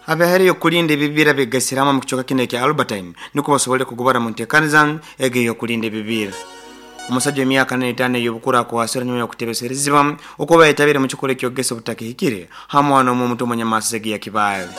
Abaheriyo kulinda ebibira begasire hamwe mu kicweka kino ekya Albertine nukwo basobole kugobora mu nteekaniza egi ey'okulinda ebibira. Omusajja w'emyaka 45 ey'obukuru akwasirwe nyuma y'okutebeserezibwa okuba yayetabire mu kikorwa eky'okugesa obutakihikire ha mwana omu omuto omu nyamasi egi ya Kibaale.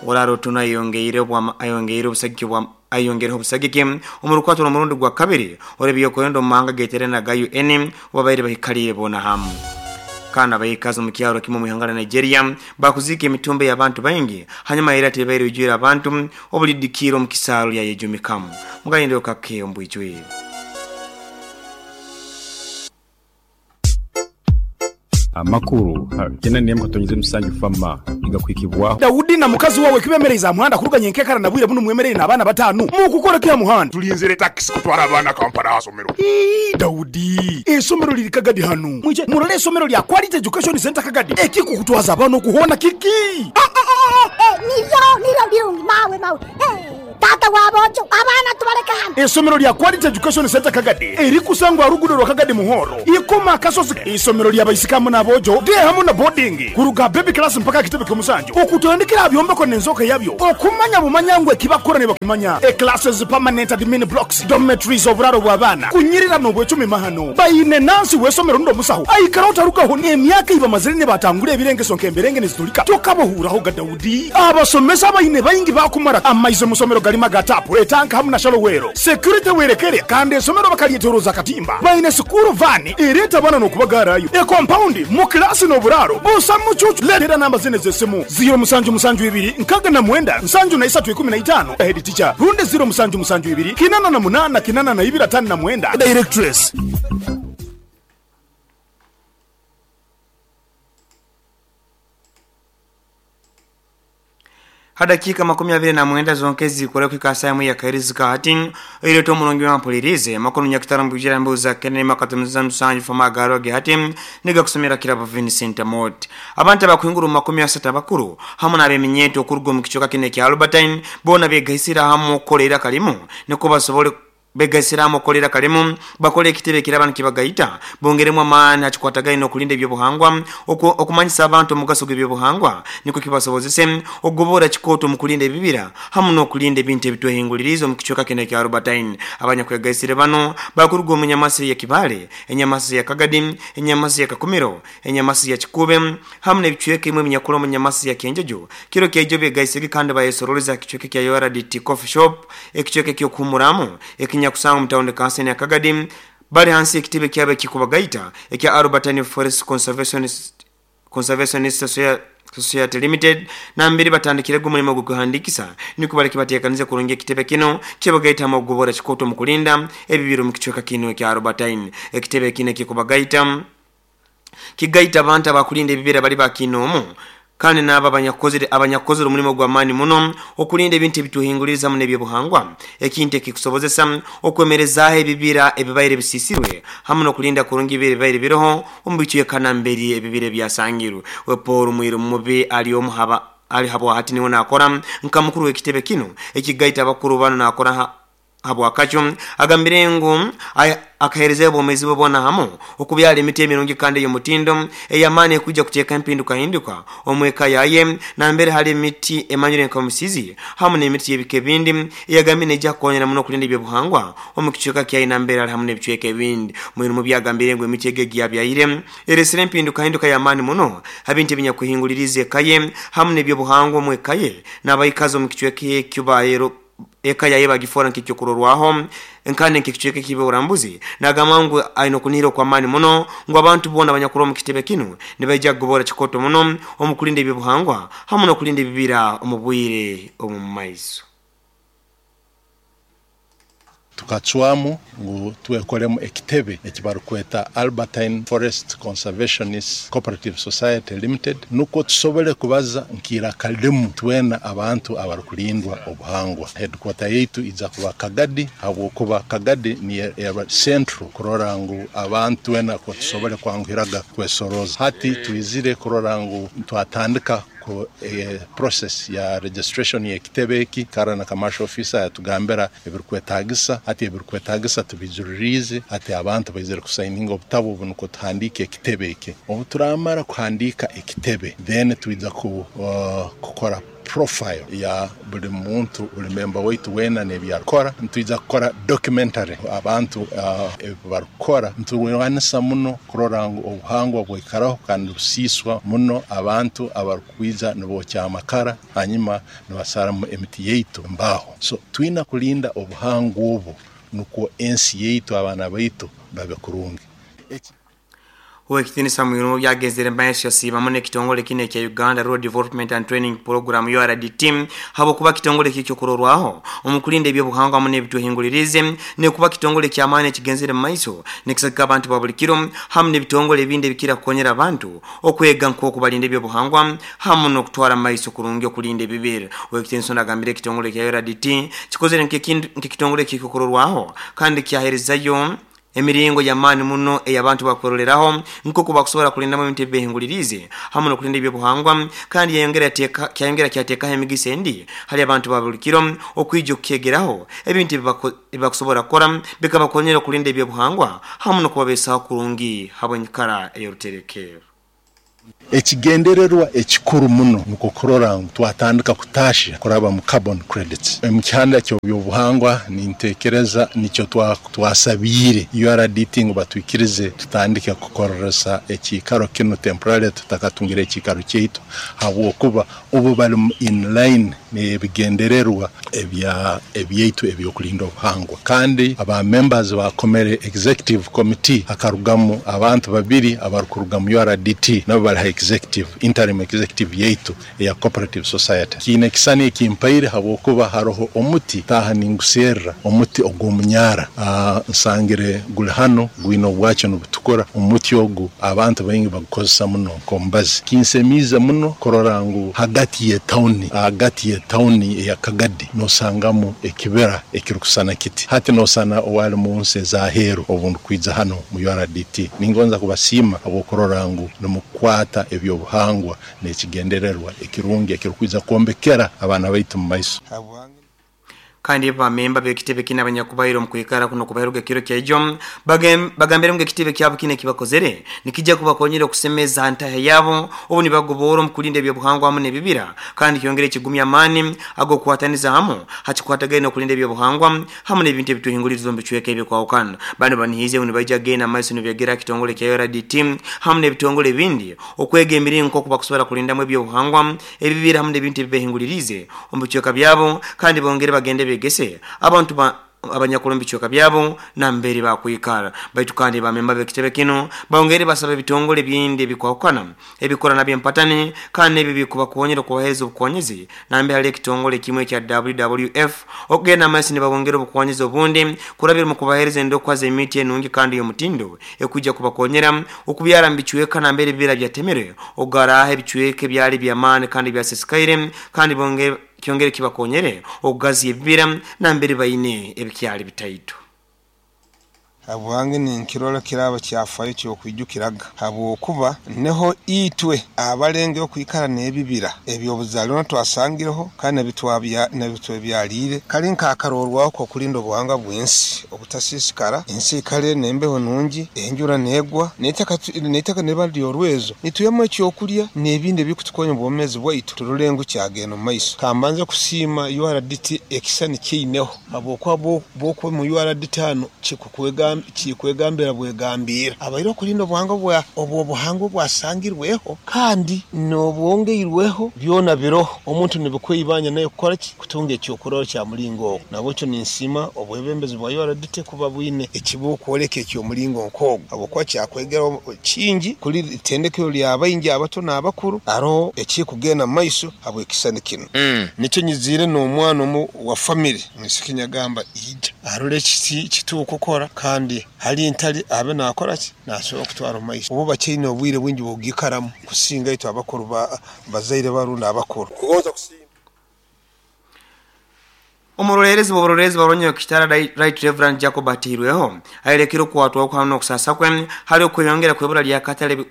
Orara Otuno ayongeire ayongeire obusagiki bwa ayongereho obusagiki omu rukwato rw'omurundi gwa kabiri orw'ebyokwerinda omu mahanga ageterine aga UN obu babaire bahikaliire boona hamu. Kandi abaikazi omu kyaro kimu omu ihanga lya Nigeria bakuziika emitumbi y'abantu baingi hanyuma y'eryato eribaire rijwire abantu obulidikiire omu kisaaru lyayejumikamu. Mugalindeho kake omu bwijwire. Amakuru ha 81.7 FAMA nigakuhikibwaho. Daudi na mukazi wawe kibemereize aha muhanda kuruga nyenkekara na bwire bunu mwemereire n'abaana batano. Mukukora ki aha muhanda? Tulinzire takisi kutwara abaana Kampala aha somero. Ii, Daudi, eisomero liri Kagadi hanu. Mwije murole eisomero lya Quality Education Center Kagadi. Ekikukutwaza abaana oku hoona kiki? Eh, eh, eh, eh, niryo, niryo birungi, mawe, mawe. Eh, taata w'aboojo, abaana tubaleke hanu. Eisomero lya Quality Education Center Kagadi erikusangwa aha ruguudo rwa Kagadi Muhoro, Ikoma Akasozi. Eisomero lya baisiki hamu n'aboojo, day hamu na boarding, kuruga aha baby class mpaka aha kitebe ky'omusanju. Okutandikira aha byombeko n'enzooka yabyo, okumanya bumanya ngu ekibakukora nibakimanya. E Classes, permanent admin blocks, dormitories, oburaaro bw'abaana, kunyirira n'obwecumi mahano. Baine nansi w'eisomero rundi omusaho aikaraho tarugaho. Emyaka ei bamazire nibatangura ebirengeso nk'emberenge niziturika, tokabahuuraho ga Daudi. Abasomesa abaine baingi baakumara amaizi omu somero garimu aga taapu, etanka hamu na shallow well. Security werekere kandi eisomero bakaryetoroza akatimba. Baine sikuuru vaani ereeta abaana n'okubagaarayo. E compound, mu kilaasi n'oburaaro busa mucuucu. Leetera namba zinu ez'esimu, ziro musanju musanju ibiri 69 73 15, Head teacher, rundi ziro musanju musanju ibiri 88 82 59, Directress. Ha dakiika 29 zonka ezikora kuhika ha saaha emwe y'akairizi ka hati, oireeta omurungi wampuliriize amakuru nyakatara omu bwijwire mbuuza Kennedy Makatomuza Musanju Fama agaaro ge hati nigakusomera Kirabo Vincent Amot. Abantu abakuhingura omu 30 abakuru hamu n'abeminyeeto okuruga omu kicweka kinu ekya Albertine boona begaisire hamu okukora eiraka limu nukwo basobole Begaisire hamu okukora eiraka limu, bakole ekitebe ekiraaba nikibagaita, bongeremu amaani ha kikwatagaine n'okulinda eby'obuhangwa, okumanyisa abantu omugaso gw'eby'obuhangwa nukwo kibasobozese okugobora kikooto omu kulinda ebibira hamu n'okulinda ebintu ebitwehinguliriize omu kicweka kinu ekya Albertine. Abanyakwegaisire banu bakuruga omu nyamasi ya Kibaale, enyamasi ya Kagadi, enyamasi ya Kakumiro, enyamasi ya Kikuube hamu n'ebicweka ebimwe ebinyakuli omu nyamasi ya Kyenjojo. Kiro kyaijo begaisege kandi bayesoroleza ha kicweka ekya URDT Coffee Shop, ekicweka eky'okuhumuramu ekinyakusangwa omu tawuni kanseni ya Kagadi, bali hansi y'ekitebe kyabo ekikubagaita ekya Albertine Forest Conservationist Society Limited nambere batandikirege omulimo ogw'okwehandiikisa nukwo baleke bateekanize kurungi ekitebe kinu kyebagaita hamu okugobora kikooto omu kulinda ebibira omu kicweka kinu ekya Albertine. Ekitebe kinu ekikubagaita kigaita abantu abakulinda ebibira bali ba kiinoomu kandi n'abo abanyakukozere abanyakukozere omulimo gw'amaani muno okulinda ebintu ebitwehinguliriza hamu n'eby'obuhangwa, ekintu ekikusobozesa okwemerezaaho ebibira ebibaire bisiisirwe hamu n'okulinda kurungi ebibira ebibaire biroho omu bicweka nambere ebibira ebyasangirwe. We Paul Mwiru Mubi ali omu haba ali habwahati niwe nakora nka mukuru w'ekitebe kinu ekigaita abakuru banu nakora ha Habwakakyo, agambire ngu akaheerezayo obwomeezi bwe bwona hamu okubyara emiti emirungi kandi ey'omutindo ey'amaani ekwija kuteeka empindukahinduka omu eka yaye nambere hali emiti emanyirwe nka omusizi hamu n'emiti y'ebika ebindi eyagambire neija kukonyera muno okulinda eby'obuhangwa omu kicweka kyaye nambere ali hamu n'ebicweka ebindi. Mwiru Mubi agambire ngu emiti egi egiyabyaire eresire empindukahinduka y'amaani muno ha bintu ebinyakwehinguliriize eka ye hamu n'eby'obuhangwa omu eka ye n'abaikazi omu kicweka ekyo baero Eka yaye bagifoora nk'ekyokurorwaho kandi nk'ekicweka eky'eby'oburambuzi. Nagamba ngu aine okunihira okw'amaani muno ngu abantu boona abanyakuri omu kitebe kinu nibaija kugobora kikooto muno omu kulinda eby'obuhangwa hamu n'okulinda ebibira omu bwire obw'omu maiso. Tukacwamu ngu twekolemu ekitebe eki barukweta Albertine Forest Conservationist Cooperative Society Limited nukwo tusobole kubaza nk'iraka limu twena abantu abarukulindwa obuhangwa. Headquarter yaitu ija kuba Kagadi habwokuba Kagadi niyo eba central kurora ngu abantu twena tusobole kwanguhiraga kwesorooza. Hati twizire kurora ngu twatandika Ku process ya registration y'ekitebe eki, kara na commercial officer yatugambira ebirukwetagisa, hati ebirukwetagisa tubijuririize, hati abantu baizire kusayininga obutabu obu nukwo tuhandiike ekitebe eki. Obu turamara kuhandiika ekitebe, then twija kukora. Profile ya buli muntu, buli memba waitu weena n'ebyarukora. Nitwija kukora documentary abantu ebi barukukora. Nturwanisa muno kurora ngu obuhangwa bwaikaraho, kandi busiiswa muno abantu abarukwija nibookya amakara, hanyuma nibasaramu emiti yaitu embaaho. So twina kulinda obuhangwa obu nukwo ensi yaitu, abaana baitu babe kurungi. Owekitinisa Mwirungu byagenzere maiso yasiimamu n'ekitongole kino ekya Uganda Rural Development and Training Program URDT habwokuba kitongole ki ekyokurorwaho omu kulinda ebyobuhangwa hamu n'ebitwehinguliriize, n'okuba kitongole ky'amaani ekigenzere mu maiso nikisagika abantu ba buli kiro hamu n'ebitongole ebindi ebikira kukonyera abantu okwega nk'oku balinda ebyobuhangwa hamu n'okutwara mu maiso kurungi okulinda ebibira. Owekitinisa onu agambire ekitongole kya URDT kikozere nk'ekitongole ky'ekyokurorwaho kandi kyaherezayo emiringo y'amaani muno ey'abantu bakweroleraho nk'oku bakusobora kulindamu ebintu ebibehinguliriize hamu n'okulinda ebyobuhangwa, kandi kyayongera kyateekaho emigisa endi hali abantu ba buli kiro okwija okukyegeraho ebintu ebibakusobora kukora bikabakonyera okulinda ebyobuhangwa hamu n'okubabeesaho kurungi habw'enyikara ey'oruterekero. Ekigendererwa ekikuru muno nukwo kurora ngu twatandika kutaahya kuraba mu carbon credits. Omu kihanda ky'ebyobuhangwa nintekereza nikyo twasabiire URDT ngu batwikirize tutandike kukoresa ekiikaro kinu temporarily tutakatungire ekiikaro kyaitu, habwokuba obu bali in line n'ebigendererwa ebyaitu eby'okulinda obuhangwa. Kandi aba members bakomere executive committee, hakarugamu abantu babiri abarukuruga mu URDT, nabo bali ha executive, interim executive yaitu eya cooperative society. Kiine ekisani ekimpaire habwokuba haroho omuti taaha ninguserra, omuti ogw'omunyara, nsangire guli hanu gwine obwakyo nibutukura. Omuti ogu abantu baingi bagukozesa muno nk'omubazi. Kinsemiize muno kurora ngu hagati y'etawuni eya Kagadi nosangamu ekibira ekirukusana kiti. Hati nosana owali mu nsi ez'aheeru obu ndukwija hanu mu URDT. Ningonza kubasiima habw'okurora ngu nimukwata ebyobuhangwa n'ekigendererwa ekirungi ekirukwija kwombekera abaana baitu mu maiso. Kandi bamemba b'ekitebe kinu abanyakubaire omu kwikara kuno kubaheruga ekiro kyaijo bagambire ngu ekitebe kyabo kinu ekibakozere nikijja kubakonyera okusemeza ntahe yabo obu nibagoboora omu kulinda ebyobuhangwa hamu n'ebibira, kandi kyongere ekigumya amaani ag'okukwataniza hamu hakikwatagaine n'okulinda ebyobuhangwa hamu n'ebintu ebitwehinguliriza omu bicweka ebikwahukana. Banu banihiize ngu nibaija kugenda maiso nibeegera ha kitongole kya URDT hamu n'ebitongole ebindi okwega emiringo nk'oku bakusobora kulindamu ebyobuhangwa, ebibira hamu n'ebintu ebibehinguliriize omu bicweka byabo, kandi bongere bagende begese abantu abanyakuli omu bicweka byabo nambere bakwikara. Baitu kandi bamemba b'ekitebe kinu bongere basaba ebitongole ebindi ebikwahukana ebikora nabyo empatani kandi n'ebyo bikubakonyera okubaheereza obukonyezi nambere hali ekitongole kimwe ekya WWF okugenda amaiso nibabongera obukonyezi obundi kurabira omu kubaheereza endokwa z'emiti enungi kandi ey'omutindo ekwija kubakonyera okubyara mu bicweka nambere ebibira byatemere okugaraho ebicweka ebyali by'amaani kandi byasesekaire, kandi kyongere kibakonyere okugaziya ebibira nambere baine ebikyali bitaito. Habwange ninkirora kiraba kyafayo ky'okwijukiraga, habwokuba niho itwe abalengere okwikara n'ebibira eby'obuzaalirwana twasangireho kandi n'ebitwebyaliire. Kali nk'akarorwaho k'okulinda obuhangwa bw'ensi obutasiisikara, ensi ikale n'embeho nungi, enjura n'egwa, n'eitaka niriba ry'orwezo, nitwihamu ekyokulya n'ebindi ebirikutukonya omu bwomeezi bwaitu turole ngu kyagenda omu maiso. Kambanze kusiima URDT ekisani kyeineho, habwokuba bw'okuba omu URDT hanu kikwegambira bwegambiira abaire okulinda obuhangwa obw'obuhangwa obwasangirweho kandi n'obwongeirweho byona biroho. Omuntu nibikwibanja naye kukora ki? Kutunga ekyokurorraho kya mulingo ogwo. Nabwekyo ninsiima obwebembezi bwa URDT kuba bwine ekibukwoleka eky'omulingo nk'ogwo, habwokuba kyakwegeraho kingi kuli itendekero lya baingi abato n'abakuru haroho ekikugenda mu maiso habw'ekisani kinu. Nikyo nyiziire n'omwana omu wa famire mwisiki nyagamba ija arole ekiti kitukukora kandi hali ntali abe nakora ki nasobora kutwara omu maiso. Obu bakyaine obwire bwingi bw'okugikaramu kusinga itwe abakuru bazaire barundi abakuru. Omuroleerezi bw'oburoleerezi bwa Rwanyakitara Right Reverend Jacob Ateirweho ayerekire okukwatwaho hamu n'okusaasa kwe hali okweyongera kw'ebura ly'akatale.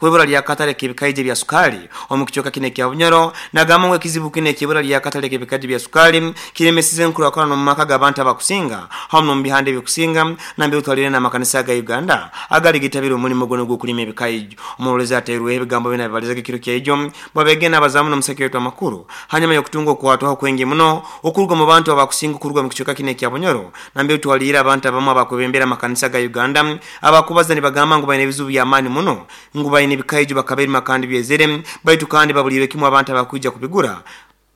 kwibura lyakatale k'ebikaija bya sukali omu kicweka kino ekya Bunyoro. Nagamba ngu ekizibu kino ekyibura lyakatale k'ebikaija bya sukali kiremesize enkurakurana omu maka g'abantu abakusinga hamu n'omu bihanda ebikusinga, nambere otwalire n'amakanisa ga Uganda agali gitabire omulimo guno gw'okulima ebikaijo. Omurolezi ateirweho ebigambo bino abibalizaga ekiro kyaijo bwabegenda abazamu n'omuseke wetu amakuru hanyuma y'okutunga okukwatwaho kwingi muno okuruga mu bantu abakusinga okuruga mu kicweka kino ekya Bunyoro, nambere twalire abantu abamu abakwebembera amakanisa ga Uganda abakubaza nibagamba ngu baine ebizibu by'amaani muno, ngu baine ebikaijo bakabirima kandi byezere, baitu kandi babuliire kimu abantu abakwija kubigura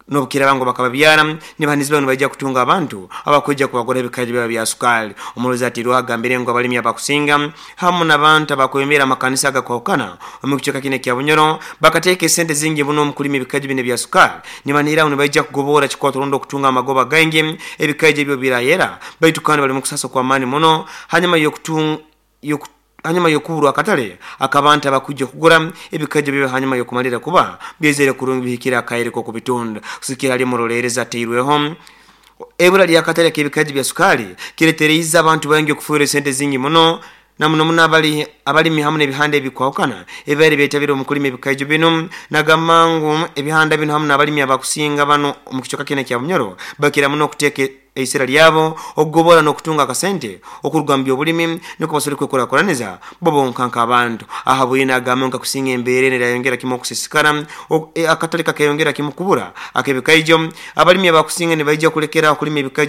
nobukiraba ngu bakababyara nibanizibwa nibaija kutunga abantu abakwija kubagura ebikaijo byabo bya sukali. Omurozi atirwa agambire ngu abalimi abakusinga hamu n'abantu abakwebembera amakanisa agakwahukana omu kicweka kino ekya Bunyoro bakateeka esente zingi muno omu kulima ebikaijo bino ebya sukali, nibanihira ngu nibaija kugobora kikwato rundi okutunga amagoba gaingi ebikaijo ebyo birayera, baitu kandi bali mu kusasa kw'amaani muno hanyuma hanyuma y'okuburwa akatale akabantu abakwija kugura ebikaijo byo hanyuma y'okumalira kuba byezere kurungi bihikire akaire k'okubitunda. Kusikira ali murolereza ateirweho ebura lyakatale k'ebikaijo bya sukali kiretereize abantu baingi okufuura esente zingi muno, na muno muno abalimi hamu n'ebihanda ebikwahukana ebibaire byetabire omu kulima ebikaijo bino. Nagamba ngu ebihanda bino hamu n'abalimi abakusinga bano omu kicweka kino ekya Bunyoro bakira muno okuteeka eisera lyabo okugobora n'okutunga akasente okuruga mu byobulimi niko basobole kwekurakuraniza bo bonka nk'abantu. Aha bwine agamba nka kusinga embeera eno erayongera kimu okusisikara, akatale kakeyongera kimu kubura ak'ebikaijo, abalimi abakusinga nibaija kulekera okulima ebikaijo.